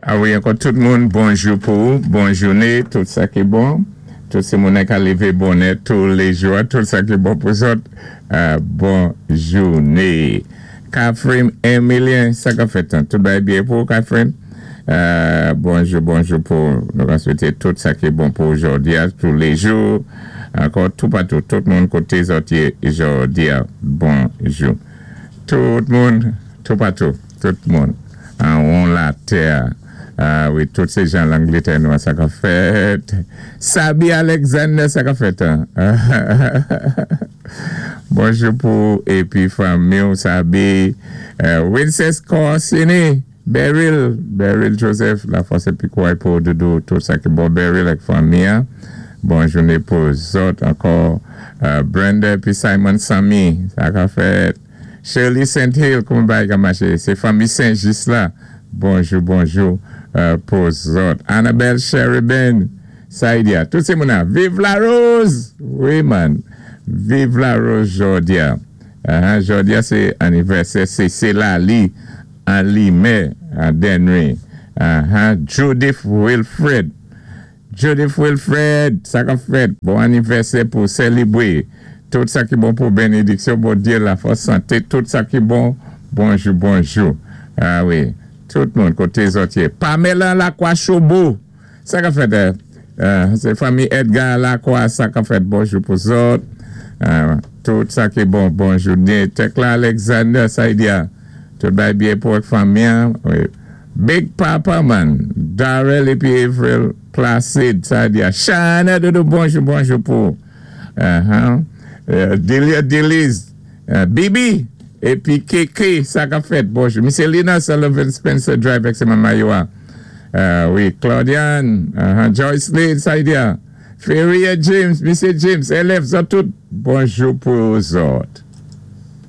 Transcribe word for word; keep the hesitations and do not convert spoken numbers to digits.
A wi, ankò tout moun, bonjou pou ou, bon jouné, tout sa ki bon. Tout sé moun ka lévé bonè tou lé jou, tout sa ki bon pou zòt. Euh, bon jouné. Catherine Emilien, sa ka fèt, tout bagay byen pou Catherine? Euh, bonjou, bonjou pou nou ka swété tout sa ki bon pou jòdi a, tou lé jou. Ankò tou patou, tout moun koté zòt yé jòdi a, bonjou. Tout moun, tou patou, tout moun. An won latè. A wi, tout sé jan Langlétè nou, sa ka fèt. Sabi Alexander, sa ka fèt. Bonjou pou épi fanmi, Sabi. Euh, Wincest Corsini, Beryl, Beryl Joseph, lafòs épi kouway pou doudou, tout sa ki bon Beryl ak fanmi. Bon jouné pou zòt ankò. Euh, Brenda épi Simon Samy, sa ka fèt. Shirley Saint Hill, kouman bagay ka maché? Sé fanmi Saint-Just la. Bonjou, bonjou euh, pou zòt. Annabelle Sheridan, Saidia, tout sé moun. Vive la rose! Wi, man. Vive la rose, jòdi a. Uh, jòdi a, sé anivèsè, sé sé Lali, an Limay, an Dennery. Uh-huh. Judith Wilfred. Judith Wilfred, sa ka fèt. Bon anivèsè pou sélébwé. Tout sa ki bon pou bénédiksyon, Bondyé, lafòs, santé, tout sa ki bon. Bonjou, bonjou. A wi. Tout moun koté zòt yé. Pamela Lacroix Chobo. Sa ka fèt. Euh, sé fanmi Edgar Lacroix, sa ka fèt. Bonjou pou zòt. Euh, tout sa ki bon, bonjou. Tekla Alexander, Saidia. Tout bagay byen pou fanmi. Wi. Big Papa, man. Darrell épi Avril Placide, Saidia. Shana, doudou, bonjou, bonjou pou. Uh-huh. Euh, Delia Deliz. Euh, Bibi. Épi Keke, sa ka fèt, bonjou. Miss Lina Sullivan Spencer Drive, ak Maman Yoa. Euh, wi, Claudiane, uh-huh. Joyce Lee, Saidia. Feria James, Misye James, élèv, zòt tout, bonjou pou zòt.